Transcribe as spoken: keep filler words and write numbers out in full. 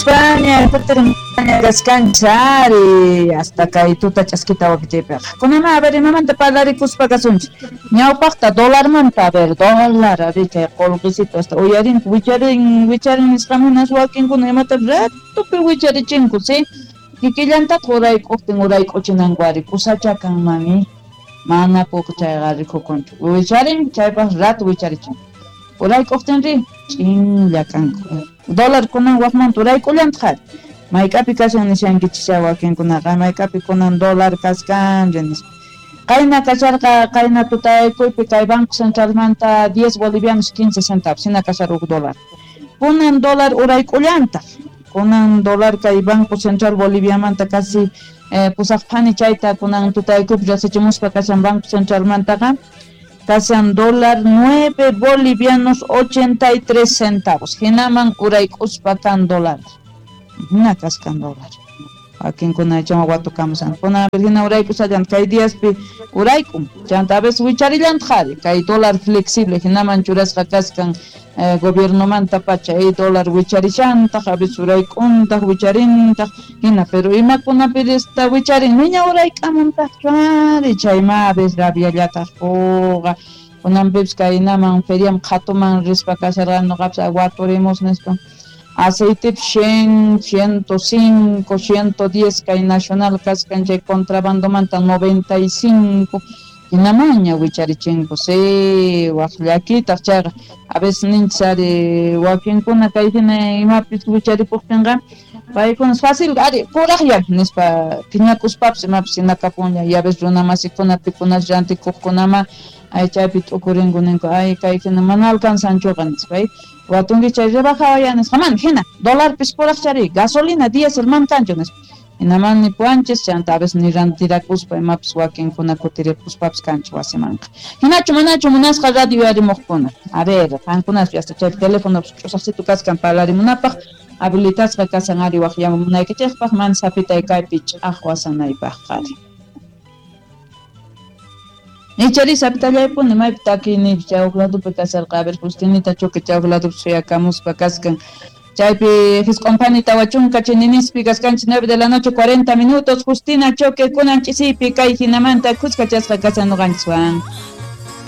Kutirimuspaña, kutirimuspaña kaskanchari hasta kay tuta ch'askita wakichaypiqa. Kunama, a ver, imamanta parlarikuspa kasunchik. Ñawpaqta dólarmanta, a ver, dólar, a ver, chay qullqisito hasta uyarinku, wicharin, wicharin nisqamunas wakinkuna imata ratupi wicharichinku, sí? Kikillantataq urayk'uqtin urayk'uchinanku ari kusacha kanmanmi, mana puq chayqa rikukunchu. Wicharin, chaypaq ratu wicharichin. Urayk'uqtinri ch'inlla kanku. Dólar kunan waqmanta urayk'ullantaq ari. Mayk'api kashan nishankichikcha wakinkunaqa, mayk'api kunan dólar kaskanri nispa. Qayna kasharqa, qayna tutaykuypi kay Banco Centralmanta diez bolivianos quince centavos, hina kashar huk dólar. Kunan dólar urayk'ullantaq. Kunan dólar kay Banco Central Boliviamanta casi eh, pusaq phani chayta kunan tutaykuypi riqsichimuspa kashan Banco Centralmantaqa. Kashan dólar nueve bolivianos ochenta y tres centavos. Hinaman urayk'uspa kan dólar. Hina kaskan dólar. Wakinkuna chama watukamusan. Kuna hina urayk'usallan kay diaspi urayk'un. Chanta a veces wicharillantaq ari. Kay dólar flexible hinaman churasqa kaskan eh, gobiernomanta pacha ay dólar wicharishantaq, a veces urayk'untaq, wicharintaq, hina, pero imakunapi esta wicharin niña urayk'amuntaqchu ari, chayma a veces rabiallataq puqa. Kunanpipis kaynaman feriam qhatuman rispa kasharqani nuqapis waturimus nispa. Aceite cien, ciento cinco, ciento diez kay nacional kaskan chay contrabandomanta noventa y cinco. Hinamaña wicharichinku, sí, waq llakitaq chayqa. A veces ninchis ari wakinkuna kay hina imapis wicharipuqtinqa paykuna fácil ari kuraqlla nispa phiñakuspapis imapis hinakapunlla. Y a veces runa masikuna pikunas rantikuqkunama ay chaypi t'ukurinku ninku ay kay hina mana alcanzanchuqa nispa. Watunki chay rebajawaya nisqa mana hina dólarpis kuraqchari gasolina diésel man kanchu nispa. Hinaman nipuwanchis chanta a veces ni rantirakuspa imapis wakinkuna kutiripuspapis kanchu wasimanqa. Hinachu manachu munasqa radio yarimuqkuna. A ver, qankunas hasta chay teléfono ch'usaqsitu kaskan parlarimunapaq habilitasqa kasan ari waqyamunaykichikpaq man sapitay kaypi ch'aqwasanaypaq qari. Ichari sapitallaypuni maypi takiyniypi chay huk ladopi kasarqa, a ver, Justinita Choque chay huk ladopi suyakamuspa kaskan. Chaypi hisq'unphani tawa chunka chininispi kaskanchis nueve de la noche cuarenta minutos. Justina Choque kunan ch'isiypi kay hinamanta khuskachasqa kasan nuqanchiswan.